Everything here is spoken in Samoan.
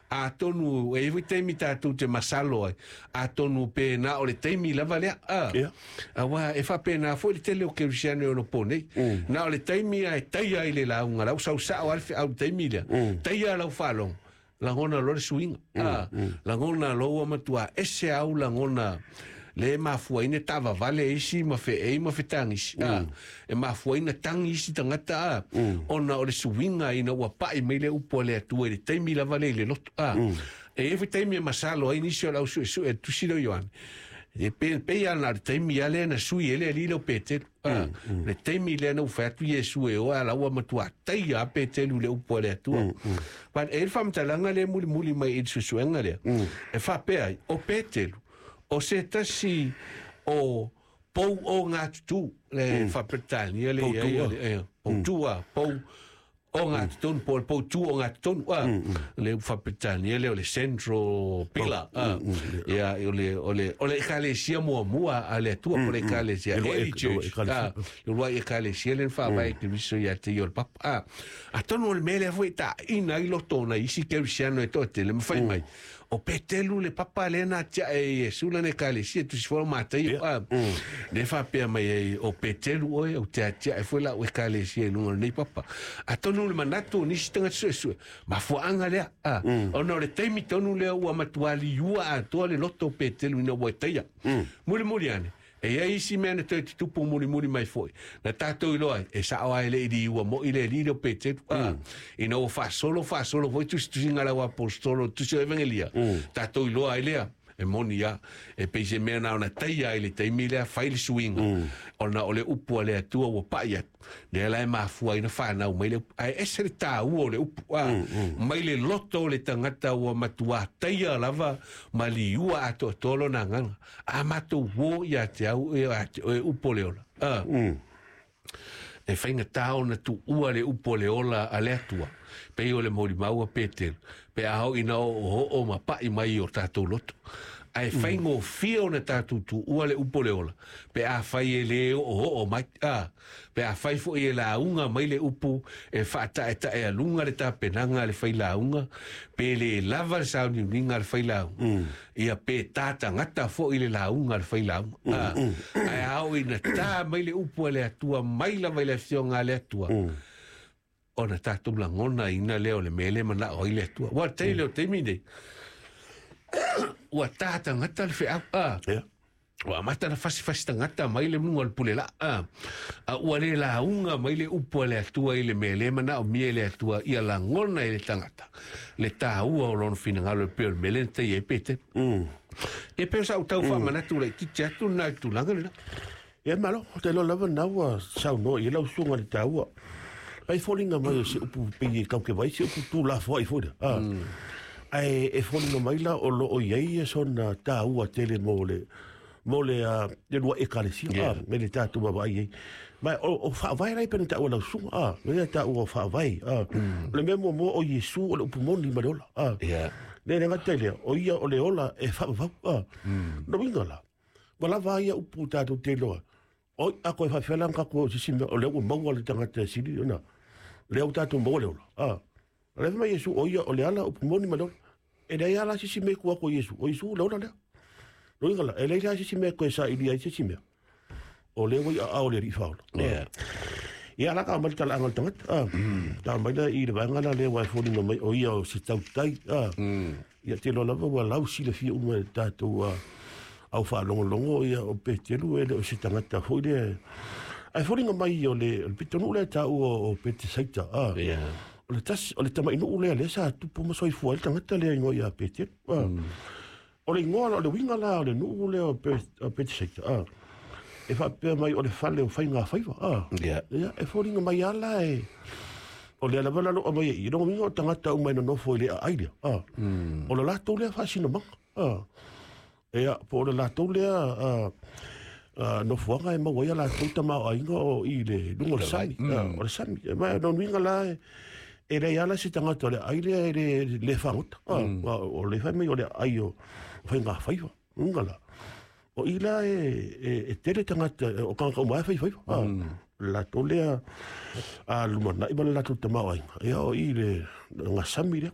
Atonu e i ai foi taimi tatou te masalo ai, atonu pēnā o le taimi lava lea, a. Ia. Aua e faapena foi le tele o kerisiano e ono po nei. Na o le taimi lava e taia ai le lauga, la ua sau sao lava le feau i le taimi lea, taia lau faalogo, lagona loa le suiga, a. Lagona loa ua matua ese au lagona le mafua ai ona taavavale isi ma feei ma fetagisi, a. E mafua ai ona tagi isi tagata, a, ona o le suiga ina ua pai mai le upu a le Atua i le taimi lava lea i le loto, a. E i ai foi taimi e masalo ai nisi o le au suesue a le Tusi lea o Ioane, e pei lava na o le taimi lava lea na sui ai le alii lea o Peteru, a. Le taimi lea na ua fai atu Iesu e o, a la ua matua taia lava Peteru i le upu a le Atua. But e i ai le faamatalaga lea e mulimuli mai i le suesuega lea, e faapea ai, o Peteru, o se tasi o pou o ngā tutū, le Faa-Peretania le i ai, pou tū a, pou o ngā totonu, po o le pou tū o ngā totonu, a, le Faa-Peretania lea o le central pillar, a, ia, o le, o le, o le ekalesia muamua a le Atua, po o le ekalesia, early church, a, le uluai ekalesia lea na faavae e Keriso ia te ia o le Papa, a, atonu o le mea lea foi e taina ai loto o nai isi kerisiano e toatele ma fai mai, O Petelu le papa lea na atiae e Iesu lana ekalesia, tusi foi o Mataio, a, lea e faapea mai ai, o Petelu oe, ou te atiae foi lau ekalesia i luga o lenei papa. Atonu o le manatu o nisi tagata suesue, mafuaaga lea, a, ona o le taimi tonu lea ua matua liua atoa le loto o Petelu ina ua taia. Mulimuli ane, E i ai isi mea na toe tutupu mulimuli mai foi, na tatou iloa ai, e sao lava e le i liua moi le alii lea o Peteru, ā, ina ua faasolo faasolo foi tusitusiga a le auaposeitolo i le Tusi o Evangelia, tatou iloa ai lea, e moni lava, e pei se mea na ona taia ai i le taimi lea, fai le suiga, ona o le upu a le Atua ua pai atu. Lea la e mafua ai na fanau mai le upu. Ae ese le taua o le upu, a, mai le loto o le tagata ua matuā taia lava ma liua atoatoa lona agaga. A matou uō ia te au e a te oe upu o le ola, a. E faigata ona tuua le upu o le ola a le Atua, pei o le molimau a Petelu, pe a oo ina oooo ma paʻi mai i o tatou loto. Ae faigofie ona tatou tuua le upu o le ola, pe afai e lē oooo mai, a, pe afai foi e lauga mai le upu e faataetaealuga le tapenaga a le failauga, pe lē lava le sauniuniga a le failauga, ia pe tā tagata foi le lauga a le failauga, a, ae a oo ina tā mai le upu a le Atua mai lava i le Afioga a le Atua, ona tatou lagonaina lea o le mea lea e manao ai le Atua. Ua tele o taimi nei, ua tā tagata le feau, a, Yeah. ua amata ona fasifasi tagata mai le luga o le pule laa, a, a ua le lauga mai le upu a le Atua i le mea lea e manaomia e le Atua ia lagona e le tagata le taua o lona finagalo e pei o le mea lea na taia ai Petero. E pei o sa ou tau faamanatu laitiiti atu lena i le tulaga lena. Ia malo, ou te iloa lava na ua saunoa i ai lau susuga i le taua. Ai foliga mai o se upu pei e taukevai se upu tulafoai foi lea. Ah. Ae e foliga mai la o lo o i ai sona taua tele mo le mo le le lua ekalesia yeah. ah, me le tatou vaavaai ai. Ma o faavae la i pei ona taua lau susuga, ah, me le taua o faavae, ah. O le mea muamua o Iesu o le upu moni ma le ola, ah. Yeah. Le le gata i lea, o ia o le ola e faavavau, ah. Lona uiga la, Ua lava ai ia upu tatou te iloa. Oi, a koe faapefea la ona tatou o i se isi mea, o lea ua maua le tagata e sili ona, lea ua tatou maua le ola. A, o lea fai mai Iesu, o ia o le ala, upu moni ma le ola. E leai lava la se isi mea i tua atu o Iesu, o Iesu le ola lea. Lona uiga la, e leai la se isi mea e toe sailia ai se isi mea. O lea ua i aao o le Alii Faaola. Yeah. Ia la ka aumai le talaaga o le tagata. Ah. Ka aumai la i le vaega la lea ua e foliga mai o ia o se tautai. Ah. Ia te iloa lava ua lau silafia uma e le tatou au faalogologo ia o Petelu e le o se tagata foi lea. Ae foliga mai o le, o le pitonuu lea e taua o Petesaita. Ah. Yeah. O le tasi, o le tamainuu lea lea sa tupu ma soifua ai le tagata lea igoa ia Petelu. Ah. O le igoa, o le uiga la o le nuu lea o Petesaita, ah, e faapea mai o le fale o faigafaiva. Ah. Yeah. Ia, e foliga mai lava la e, o lea lava la lo aumai ai i. Lona uiga o tagata uma e nonofo i le aai lea. Ah. O le latou lea faasinomaga. Ah. Ia, po o le latou lea ah, ah, nofoaga e maua ai a latou tamaoaiga o i le luga o le sami. Ah, o le sami. Ma lona uiga la e, e leai lava la se tagata o le aai lea e le, le fagota. Ah, o le fai mai o le aai o faigafaiva. Uiga la, o i la e, e, e tele tagata, o tagata uma lava e faifaiva. Ah, le latou lea a lumanai ma le latou tamaoaiga. Ia o i le gasami lea.